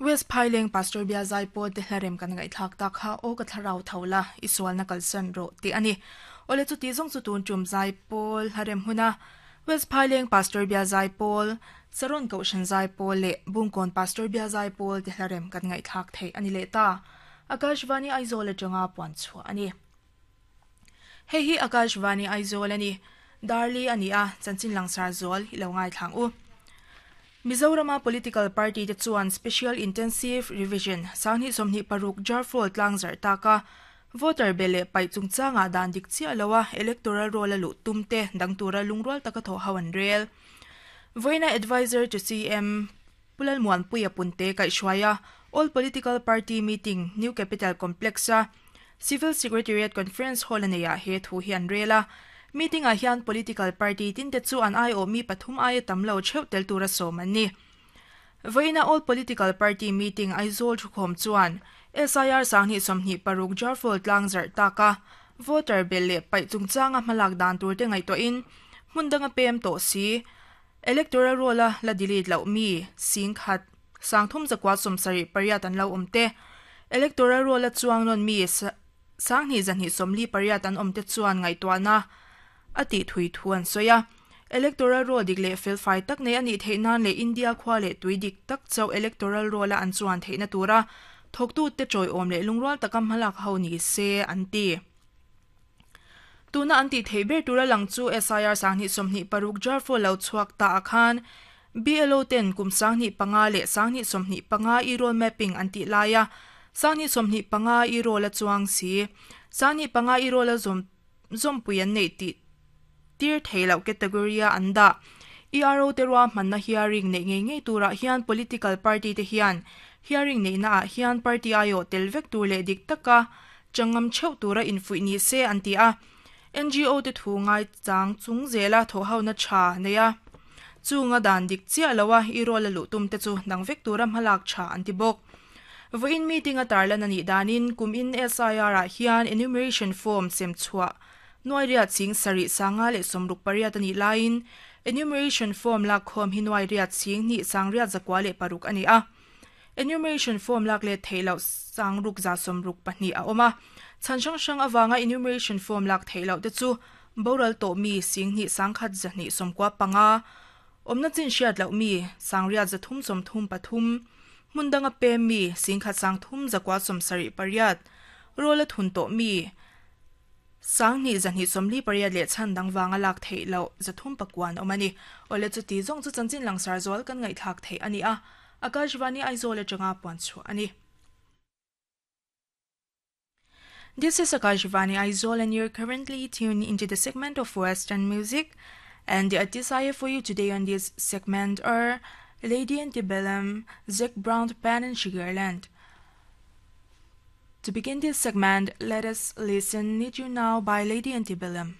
West Phaileng Pastor Bia Zaipawl te hlarem kan ngaihthlak tak kha aw ka thlarau tho la, i sualna kalsan rawh tih a ni. Awle chuti zawng chu tun tum Zaipawl hlarem huna West Phaileng Pastor Bia Zaipawl, Saron Kohhran Zaipawl leh Bungkawn Pastor Bia Zaipawl te hlarem kan ngaihthlak theih a ni leh ta. Akashvani Aizawl atanga puan chhuah a ni. Hei hi Akashvani Aizawl a ni. Darli a ni a, chanchin langsar zual i lo ngaithlang u. Mizorama political party te chuan Special Intensive Revision sanghnih 26 Jarfall tlangzarh taka voter be leh paih chungchangah dan dik chiah loa electoral roll a luh tum te dang tura lungrual taka thawh ho an rel. Vawiina Adviser to CM Pu Lalmuanpuia Punte kaihhruaia All Political Party Meeting New Capital Complex-a Civil Secretariat Conference Hall a neiah he thu hi an rel a. Meeting-ah hian political party tinte chu an aiawh mi pathum aia tam lo theuh tel tura sawm an ni. Vawiina All Political Party Meeting Aizawl thukhawm chuan SIR 2026 Jarfall tlang zarh taka voter belh leh paih chungchanga hmalak dan turte ngaihtuahin hmun danga pem tawh si Electoral roll-a la delete loh mi 10,000 378 an lo awm te, Electoral roll-a chuang nawn mi 2,248 an awm te chuan ngaihtuahna a tih thui thu an sawi a. Electoral roll dik leh felfai tak nei a nih theih nan leh India khua leh tui dik tak chauh electoral roll-a an chuan theihna tura thawktute tawiawm leh lungrual taka hmalak ho ni se an ti. Tuna an tih theih ber tura lang chu SIR 2026 Jarfo lo chhuak ta ah khan BLO ten kum 2005 leh 2025 e-roll mapping an tih laia 2025 e-roll a chuang si 2025 e-roll a zawm zawmpui an neih tih tir thei loh category a an dah. ERO te ruahmanna hearing neih ngei ngei turah hian political party te hian hearing neihna ah hian party aiawh tel vek tur leh dik taka changam theuh tura infuih ni se an ti a. NGO te thu ngaichang chung zela thawhhona tha nei a, chunga dan dik chiah loa i roll a luh tum te chu dang vek tura hmalak tha an ti bawk. Vawiin meeting a tarlan a nih danin kum in SIR ah hian enumeration form sem chhuah nuai riat ching sarih sanga leh sawmruk pariat a nih laiin enumeration form lakkhawm hi nuai riat ching hnih sang riat zakua leh paruk a ni a. Enumeration form lak let theih loh sangruk za sawmruk pahnih a awm a. Chhan hrang hrang avanga enumeration form lak theih loh te chu boral tawh mi singhnih sangkhat zahnih sawmkua panga, awmna chin hriat loh mi sangriat zathum sawmthum pathum, hmun danga pem mi singkhat sangthum zakua sawmsarih pariat, roll a thun tawh mi Sanghnih zahnih sawmli pariat leh chhan dang vanga lak theih loh zathum pakuan awm a ni. Awle chuti zawng chu chanchin langsar zual kan ngaihthlak theih a ni a, Akashvani Aizawl atanga puan chhuah a ni. This is Akashvani Aizawl and you're currently tuned into the segment of Western music and the artists I have for you today on this segment are Lady Antebellum, Zac Brown Band and Sugarland. To begin this segment, let us listen Need You Now by Lady Antebellum.